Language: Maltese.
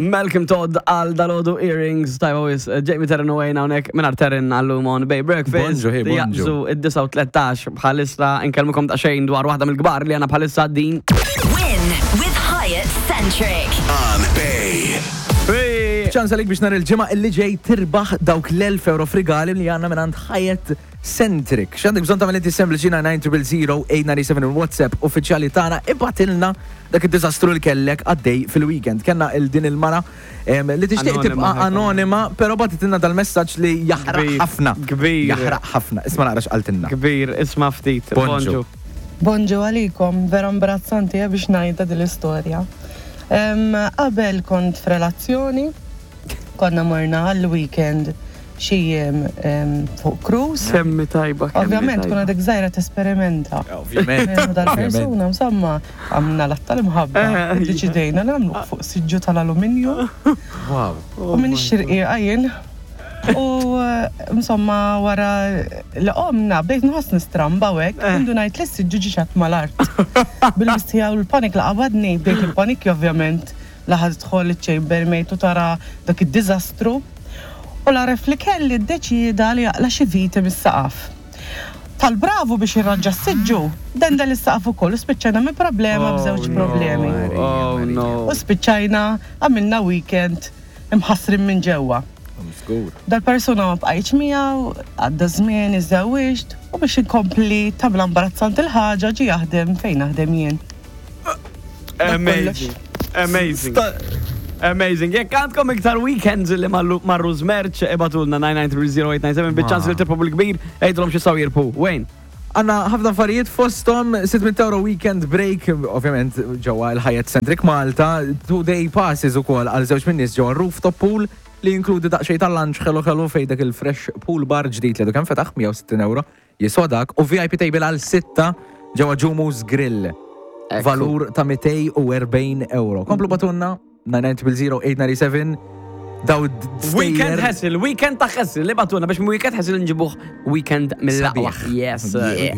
Malcolm Todd għal dalodu earrings tajba wis Jamie Terren u għajna unek minar Terren għallum on Bay Breakfast. Bonġu, hey, bonġu. Jaqbżu id-9:13 bħalissa nkellmukom ta' xejn dwar waħda mill-kbar li għandna bħalissa din. Win with Hyatt Centric. On Bay. Hey! ċans għalik biex nhar il-ġimgħa illi ġej tirbaħ dawk l-1000 euro f'rigali li għandna minn għand Hyatt Centric. X'għandek bżonn tagħmel inti sempliċi 990 897 il-WhatsApp uffiċjali tagħna ibgħatilna dak id-diżastru li kellek għaddej fil-weekend. Kellna il din il-mara em, li tixtieq Anonima tibqa' ħajkun. anonima, però bagħtitilna dal-messaġġ li jaħraq Kbir, ħafna. kbir. Jaħraq ħafna. Isma' naqra x'qaltilna. Kbir, isma ftit. Bonġu. Bonġu għalikom, vera imbarazzanti eh, biex ngħidha din l-istorja. Em, Qabel kont f'relazzjoni, konna morna għall-weekend xi jiem em, fuq cruise. Semmi tajba. kemmi Ovvjament, tajba. kun għadek żgħira tesperimenta. Ovvjament. U Dal-persuna, insomma, għamna l tal-imħabba. Eh, Deċidejna nagħmlu fuq siġġu tal-aluminju. Wow. U minn ix-xirqiqa jien. U eh, insomma wara li qomna bdejt nħoss nistramba u hekk, Eh. indu ngħid li s-siġġu ġi mal-art. Bil-mistija u l-panik li qabadni, bdejt il-panik ovvjament laħad tħol iċ-chambermaid u tara dak id-diżastru. U l-aref li kelli ddeċieda li jaqla xi viti mis-saqaf. Tal-bravu biex irranġa s-siġġu, dendel is-saqaf ukoll u spiċċajna minn problema b'żewġ problemi. Oh no. U spiċċajna għamilna weekend imħassrin minn ġewwa. Żgur. Dal-persuna ma bqajtx miegħu, għadda żmien, iżżewwiġt u biex inkompli tagħmel imbarazzanti l-ħaġa ġie jaħdem fejn naħdem jien. Amazing. Amazing. Amazing. Jekk għandkom iktar weekends li mallu- marru żmerċ, ibatulna 9930897 biċ-ċans li tirbħu bil-kbir, għidulhom xi saw jirbħu. Wayne. Għanna ħafna affarijiet fostom 600 euro weekend break, ovvjament ġewwa il-Hyatt Centric Malta, two day passes ukoll għal żewġ min nies ġewwa rooftop pool li jinkludi daqsxejn tal-lunch ħelu ħelu fejn dak il-fresh pool bar ġdid li għadu kemm fetaħ 160 euro jiswa dak u VIP table għal sitta ġewwa Ġumu's Grill. Valur ta' 240 euro. Komplu batunna 990 daw Weekend ħessil, weekend ta' ħessil, li batuna biex weekend ħessil nġibuh weekend mill-aqwa. Sabiħ. Yes. sir. Yeah.